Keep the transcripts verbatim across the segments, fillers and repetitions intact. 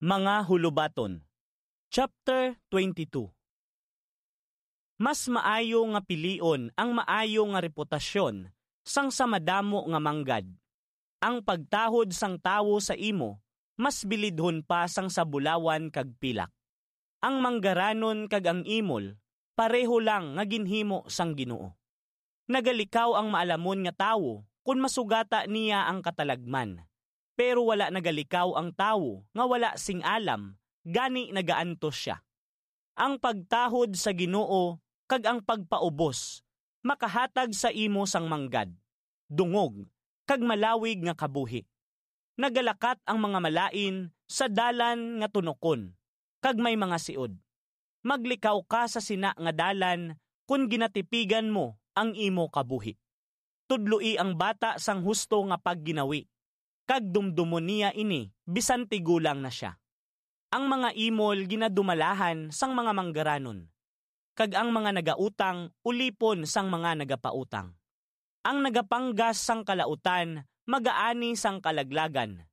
Mga Hulubaton, Chapter twenty-two. Mas maayo nga pilion ang maayo nga reputasyon sang sa madamo nga manggad. Ang pagtahod sang tawo sa imo mas bilidhon pa sang sa bulawan kag pilak. Ang manggaranon kag ang imol pareho lang nga ginhimo sang Ginoo. Nagalikaw ang maalamon nga tawo kon masugata niya ang katalagman, pero wala nagalikaw ang tawo nga wala sing alam, gani nagaantos sia. Ang pagtahod sa Ginoo kag ang pagpaubos makahatag sa imo sang manggad, dungog, kag malawig nga kabuhi. Nagalakat ang mga malain sa dalan nga tunokon, kag may mga siod. Maglikaw ka sa sina nga dalan kon ginatipigan mo ang imo kabuhi. Tudloi ang bata sang husto nga pagginawi, kag dumdumon niya ini bisan tigulang na sia. Ang mga imol ginadumalahan sang mga manggaranon, kag ang mga nagautang ulipon sang mga nagapautang. Ang nagapanggas sang kalautan magaani sang kalaglagan,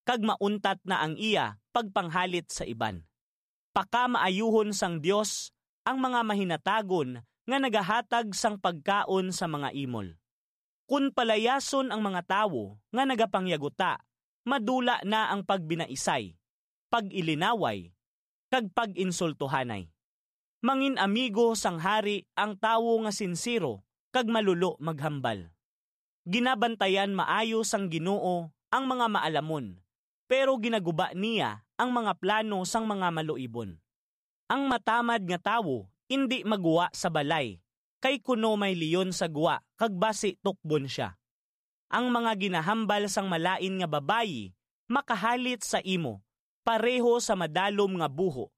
kag mauntat na ang iya pagpanghalit sa iban. Pakamaayuhon sang Dios ang mga mahinatagon nga nagahatag sang pagkaon sa mga imol. Kon palayason ang mga tawo nga nagapangyaguta, madula na ang pagbinaisay, pag-ilinaway, kag pag-insultuhanay. Mangin-amigo sang hari ang tawo nga sinsero kag malulo maghambal. Ginabantayan maayo sang Ginoo ang mga maalamon, pero ginaguba niya ang mga plano sang mga maluibon. Ang matamad nga tawo indi maggwa sa balay, kay kuno may leon sa gwa kag basi tukbon sia. Ang mga ginahambal sang malain nga babayi makahalit sa imo pareho sa madalom nga buho,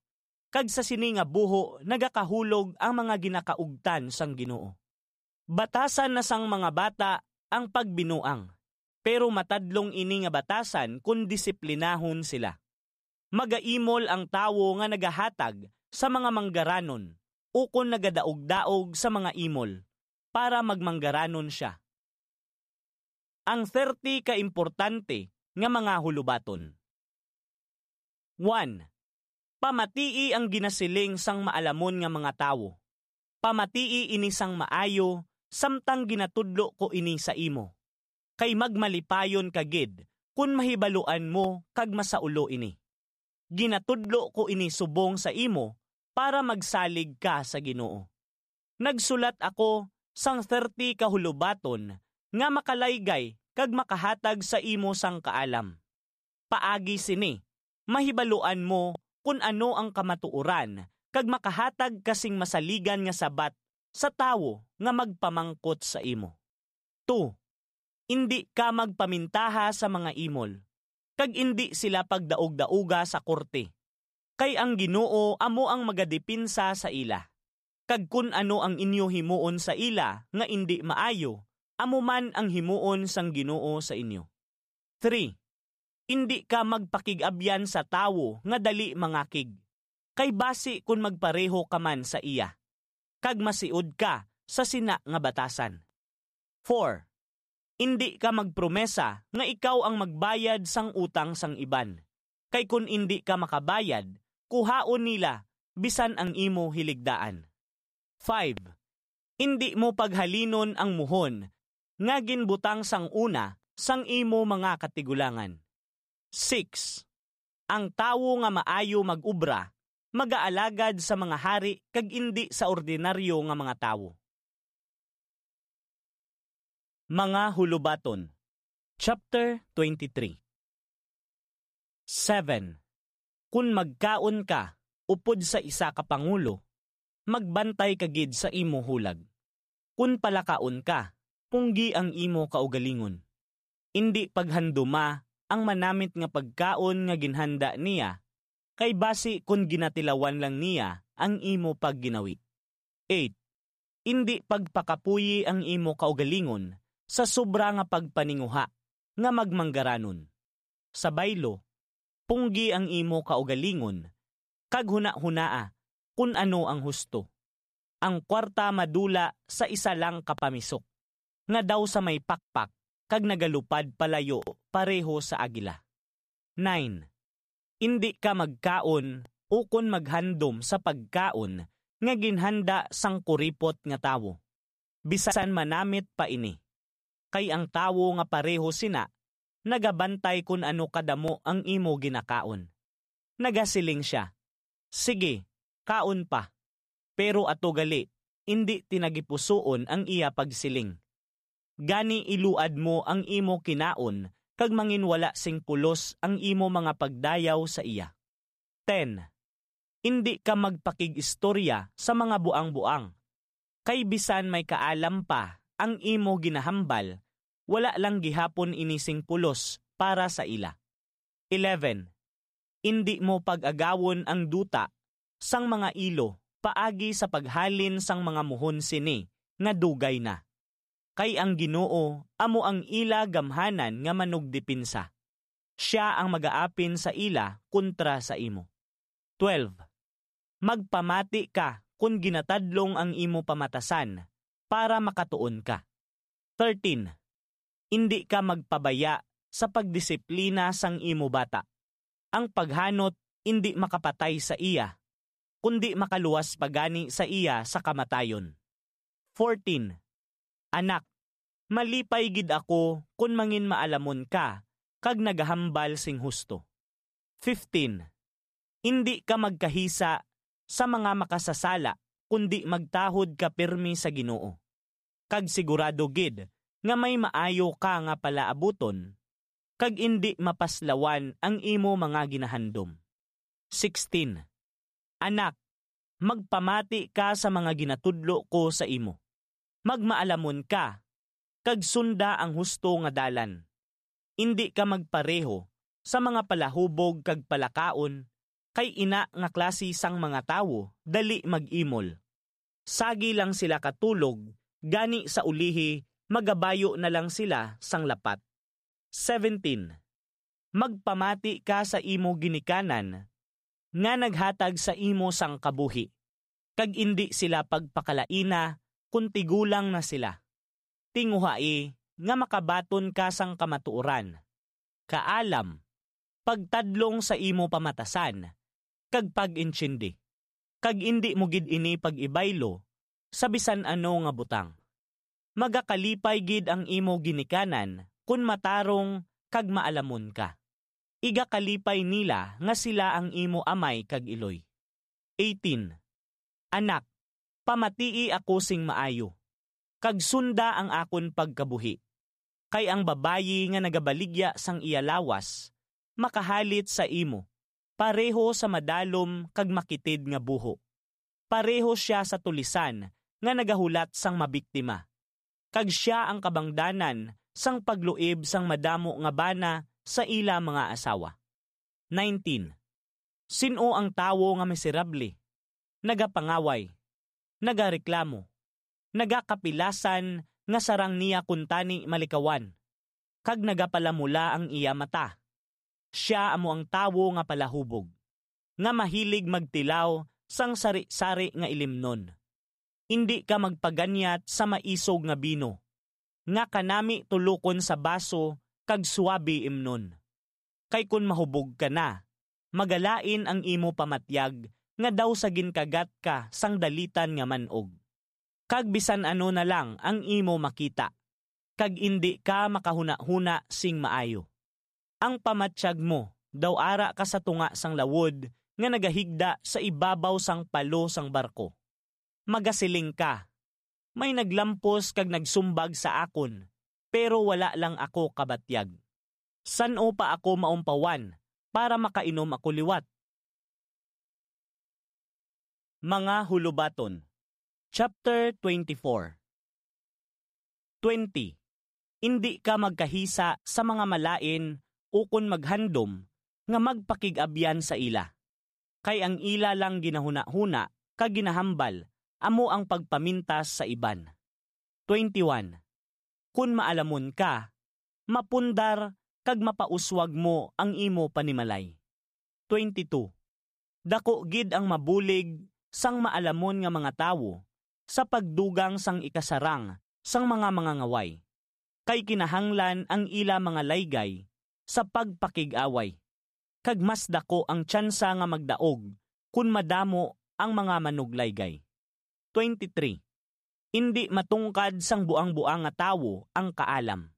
kag sa sini nga buho nagakahulog ang mga ginakaugtan sang Ginoo. Batasan na sang mga bata ang pagbinuang, pero matadlong ini nga batasan kon disiplinahon sila. Magaimol ang tawo nga nagahatag sa mga manggaranon ukon nagadaog-daog sa mga imol para magmanggaranon sia. Ang thirty ka importante nga mga hulubaton. One, pamatii ang ginasiling sang maalamon nga mga tawo. Pamatii ini sang maayo, samtang ginatudlo ko ini sa imo. Kay magmalipayon ka gid kon mahibaluan mo kag masaulo ini. Ginatudlo ko ini subong sa imo para magsalig ka sa Ginoo. Nagsulat ako sang thirty ka hulubaton nga makalaygay kag makahatag sa imo sang kaalam. Paagi sini, mahibaluan mo kon ano ang kamatuoran kag makahatag ka sing masaligan nga sabat sa tawo nga magpamangkot sa imo. Two, indi ka magpamintaha sa mga imol, kag indi sila pagdaugdauga sa korte, kay ang Ginoo amo ang magadepinsa sa ila. Kag kon ano ang inyo himuon sa ila nga indi maayo, amo man ang himuon sang Ginoo sa inyo. Three, indi ka magpakig-abyan sa tawo nga dali mangakig, kay basi kon magpareho ka man sa iya, kag masiod ka sa sina nga batasan. Four, indi ka magpromesa nga ikaw ang magbayad sang utang sang iban, kay kon indi ka makabayad, kuhaon nila bisan ang imo hiligdaan. Five, indi mo paghalinon ang muhon nga ginbutang sang una sang imo mga katigulangan. Six, ang tawo nga maayo mag-obra magaalagad sa mga hari kag indi sa ordinaryo nga mga tawo. Mga Hulubaton, Chapter twenty-three. Seven, kon magkaon ka upod sa isa ka pangulo, magbantay ka gid sa imo hulag. Kon palakaon ka, punggi ang imo kaugalingon. Indi paghanduma ang manamit nga pagkaon nga ginhanda niya, kay basi kon ginatilawan lang niya ang imo pagginawi. Eight, indi pagpakapuyi ang imo kaugalingon sa sobra nga pagpaninguha nga magmanggaranon. Sa baylo, punggi ang imo kaugalingon, kag hunahunaa kon ano ang husto. Ang kwarta madula sa isa lang ka pamisok, nga daw sa may pakpak kag nagalupad palayo pareho sa agila. Nine, Indi ka magkaon ukon maghandom sa pagkaon nga ginhanda sang kuripot nga tawo, bisan manamit pa ini. Kay ang tawo nga pareho sina nagabantay kon ano kadamo ang imo ginakaon. Nagasiling sia, "Sige, kaon pa." Pero ato gali, indi tinagipusoon ang iya pagsiling. Gani iluad mo ang imo kinaon kag manginwala sing pulos ang imo mga pagdayaw sa iya. Ten, indi ka magpakig-istorya sa mga buang-buang, kay bisan may kaalam pa ang imo ginahambal, wala lang gihapon ini sing pulos para sa ila. Eleven, indi mo pag-agawon ang duta sang mga ilo paagi sa paghalin sang mga muhon sini nga dugay na. Kay ang Ginoo amo ang ila gamhanan nga manugdepensa. Sia ang magaapin sa ila kontra sa imo. Twelve, magpamati ka kon ginatadlong ang imo pamatasan para makatuon ka. Thirteen, indi ka magpabaya sa pagdisiplina sang imo bata. Ang paghanot indi makapatay sa iya, kundi makaluwas pa gani sa iya sa kamatayon. Fourteen, anak, malipay gid ako kon manginmaalamon ka kag nagahambal sing husto. Fifteen, indi ka magkahisa sa mga makasasala, kundi magtahod ka pirme sa Ginoo, kag sigurado gid nga may maayo ka nga palaabuton, kag indi mapaslawan ang imo mga ginahandom. Sixteen, anak, magpamati ka sa mga ginatudlo ko sa imo. Magmaalamon ka, kag sunda ang husto nga dalan. Indi ka magpareho sa mga palahubog kag palakaon, kay ina nga klase sang mga tawo dali mag-imol. Sagi lang sila katulog, gani sa ulihi magabayo na lang sila sang lapat. Seventeen, magpamati ka sa imo ginikanan nga naghatag sa imo sang kabuhi, kag indi sila pagpakalaina kon tigulang na sila. Tinguhai nga makabaton ka sang kamatuoran, kaalam, pagtadlong sa imo pamatasan, kag pag-intindi, kag indi mo gid ini pag-ibaylo sa bisan ano nga butang. Magakalipay gid ang imo ginikanan kon matarong kag maalamon ka. Igakalipay nila nga sila ang imo amay kag iloy. Eighteen, anak, pamatii ako sing maayo, kag sunda ang akon pagkabuhi. Kay ang babayi nga nagabaligya sang iya lawas makahalit sa imo, pareho sa madalom kag makitid nga buho. Pareho sia sa tulisan nga nagahulat sang mabiktima, kag sia ang kabangdanan sang pagluib sang madamo nga bana sa ila mga asawa. Nineteen, sin-o ang tawo nga miserable, nagapangaway, nagareklamo, nagakapilasan nga sarang niya kuntani malikawan, kag nagapalamula ang iya mata? Sia amo ang tawo nga palahubog, nga mahilig magtilaw sang sari-sari nga ilimnon. Indi ka magpaganyat sa maisog nga bino, nga kanami tulokon sa baso kag suabe imnon. Kay kon mahubog ka na, magalain ang imo pamatyag nga daw sa ginkagat ka sang dalitan nga man-og, kag bisan ano na lang ang imo makita, kag indi ka makahunahuna sing maayo. Ang pamatyag mo daw ara ka sa tunga sang lawod nga nagahigda sa ibabaw sang palo sang barko. Magasiling ka, "May naglampos kag nagsumbag sa akon, pero wala lang ako kabatyag. San-o pa ako maumpawan para makainom ako liwat?" Mga Hulubaton, Chapter twenty-four. Twenty, indi ka magkahisa sa mga malain ukon maghandom nga magpakig-abyan sa ila, kay ang ila lang ginahunahuna kag ginahambal amo ang pagpamintas sa iban. Twenty-one, kon maalamon ka, mapundar kag mapauswag mo ang imo panimalay. Twenty-two, dako gid ang mabulig sang maalamon nga mga tawo sa pagdugang sang ikasarang sang mga mangangaway, kay kinahanglan ang ila mga laygay sa pagpakig-away, kag mas daku ang tsansa nga magdaog kon madamo ang mga manuglaygay. Twenty-three. Indi matungkad sang buang-buang nga tawo ang kaalam.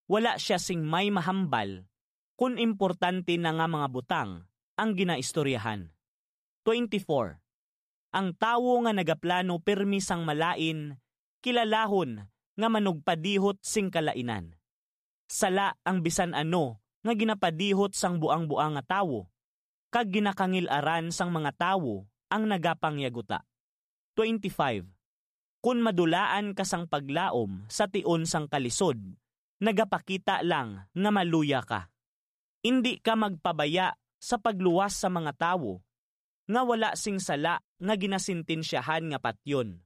Wala sia sing may mahambal kon importante na nga mga butang ang ginaistoryahan. Twenty-four. Ang tawo nga nagaplano pirmi sang malain, kilalahon nga manugpadihot sing kalainan. Sala ang bisan ano nga ginapadihot sang buang-buang nga tawo, kag ginakangil-aran sang mga tawo ang nagapangyaguta. Twenty-five. Kon madulaan ka sang paglaom sa tion sang kalisod, nagapakita lang nga maluya ka. Indi ka magpabaya sa pagluwas sa mga tawo nga wala sing sala nga ginasintensyahan nga patyon.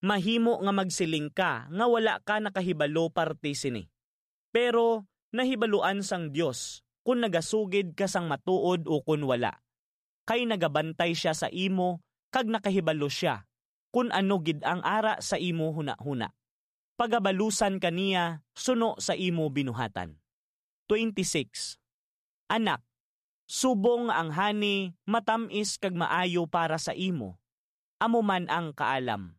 Mahimo nga magsiling ka nga wala ka nakahibalo parte sini. Pero nahibaluan sang Dios kon nagasugid ka sang matuod ukon wala, kay nagabantay sia sa imo kag nakahibalo sia kon ano gid ang ara sa imo hunahuna. Pagabalusan ka niya suno sa imo binuhatan. Twenty-six. Anak, subong nga ang hani matam-is kag maayo para sa imo, amo man ang kaalam.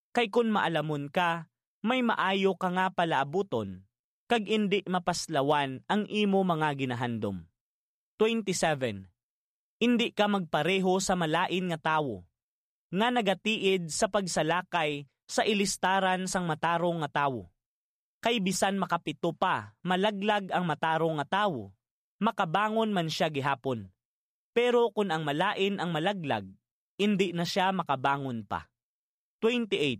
Kay kon maalamon ka, may maayo ka nga palaabuton, kag indi mapaslawan ang imo mga ginahandom. Twenty-seven. Indi ka magpareho sa malain nga tawo, nga nagatiid sa pagsalakay sa ilistaran sang matarong nga tawo. Kay bisan makapito pa malaglag ang matarong nga tawo, makabangon man sia gihapon. Pero kon ang malain ang malaglag, indi na sia makabangon pa. Twenty-eight.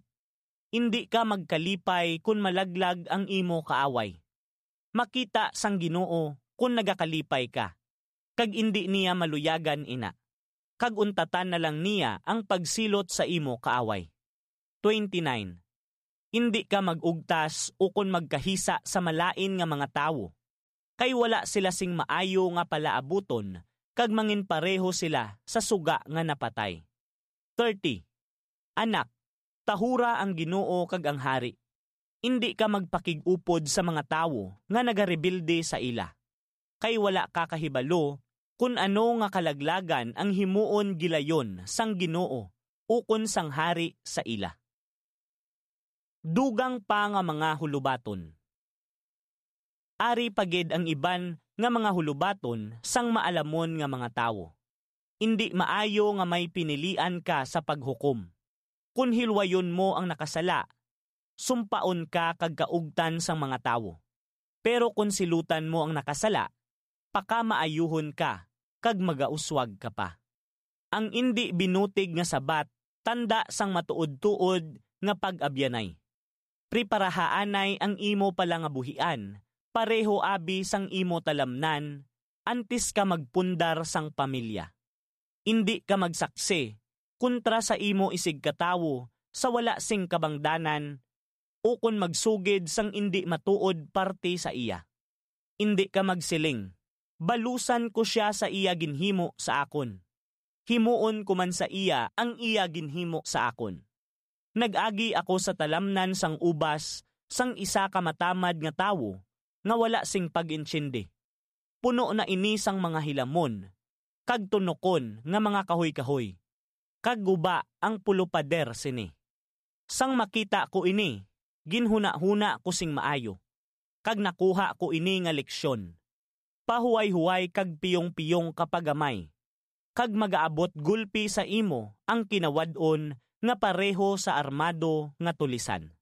Indi ka magkalipay kon malaglag ang imo kaaway. Makita sang Ginoo kon nagakalipay ka, kag indi niya maluyagan ina, kag untatan na lang niya ang pagsilot sa imo kaaway. Twenty-nine. Indi ka mag-ugtas ukon magkahisa sa malain nga mga tawo, kay wala sila sing maayo nga palaabuton, kag manginpareho sila sa suga nga napatay. Thirty. Anak, tahura ang Ginoo kag ang hari. Indi ka magpakig-upod sa mga tawo nga nagarebelde sa ila, kay wala ka kahibalo kon ano nga kalaglagan ang himuon gilayon sang Ginoo ukon sang hari sa ila. Dugang pa nga mga hulubaton. Ari pa gid ang iban nga mga hulubaton sang maalamon nga mga tawo. Indi maayo nga may pinilian ka sa paghukom. Kon hilwayon mo ang nakasala, sumpaon ka kag kaugtan sang mga tawo. Pero kon silutan mo ang nakasala, pakamaayuhon ka kag magauswag ka pa. Ang indi binutig nga sabat tanda sang matuod-tuod nga pag-abyanay. Preparahaanay ang imo palangabuhian pareho abi sang imo talamnan antes ka magpundar sang pamilya. Indi ka magsaksi kontra sa imo isigkatawo sa wala sing kabangdanan, ukon magsugid sang indi matuod parte sa iya. Indi ka magsiling, "Balusan ko sia sa iya ginhimo sa akon. Himuon ko man sa iya ang iya ginhimo sa akon." Nag-agi ako sa talamnan sang ubas sang isa ka matamad nga tawo nga wala sing pag-intindi. Puno na ini sang mga hilamon kag tunokon nga mga kahoy-kahoy, kag guba ang pulo pader sini. Sang makita ko ini, ginhunahuna ko sing maayo, kag nakuha ko ini nga leksyon. Pahuwayhuway kag piyongpiyong ka pa gamay, kag magaabot gulpi sa imo ang kinawad-on nga pareho sa armado nga tulisan.